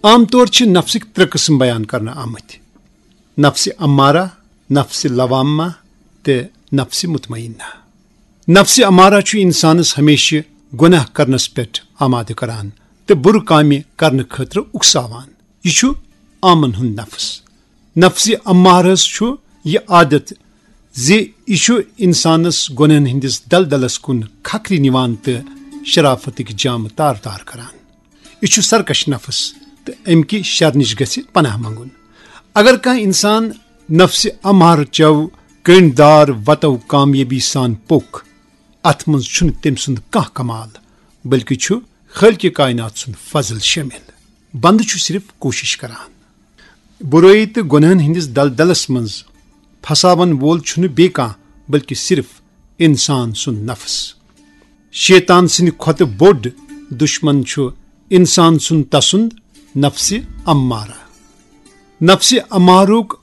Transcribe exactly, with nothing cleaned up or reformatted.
عام طور چھِ نفسٕکۍ ترٛےٚ قٕسم بیان کرنہٕ آمٕتۍ: نفسِ امارہ، نفسِ لوامہ تہٕ نفسِ مطمئنہ۔ نفسِ امارہ چھُ انسانس ہمیشہِ گۄناہ کرنس پٮ۪ٹھ آمادٕ کران تہٕ بُرٕ کامہِ کرنہٕ خٲطرٕ اُکساوان۔ یہِ چھُ عامن ہُنٛد نفس۔ نفسِ امارس چھُ یہِ عادت زِ یہِ چھُ انسانس گۄنہن ہٕنٛدِس دلدلس کُن کھکھرِ نِوان تہٕ شرافتٕکۍ جامہٕ تار تار کران۔ یہِ چھُ سرکش نفس تہٕ امہِ کہِ شر نِش گژھِ پناہ منگُن۔ اگر کانٛہہ انسان نفسِ امارٕ چو کٔنڈۍ دار وتو کامیٲبی سان پوٚک، اتھ منٛز چھُنہٕ تٔمۍ سُنٛد کانٛہہ کمال، بلکہِ چھُ خالقِ کائنات سُنٛد فضل شٲمِل۔ بندٕ چھُ صرف کوٗشش کران۔ برٲیی تہٕ گۄنہن ہٕنٛدِس دلدلس منٛز پھساون وول چھُنہٕ بیٚیہِ کانٛہہ، بلکہِ صرف انسان سُنٛد نفس۔ شیطان سٕنٛدِ کھۄتہٕ بوٚڑ دشمن چھُ انسان سُنٛد تسُنٛد نفسِ امارہ۔ نفسِ امارُک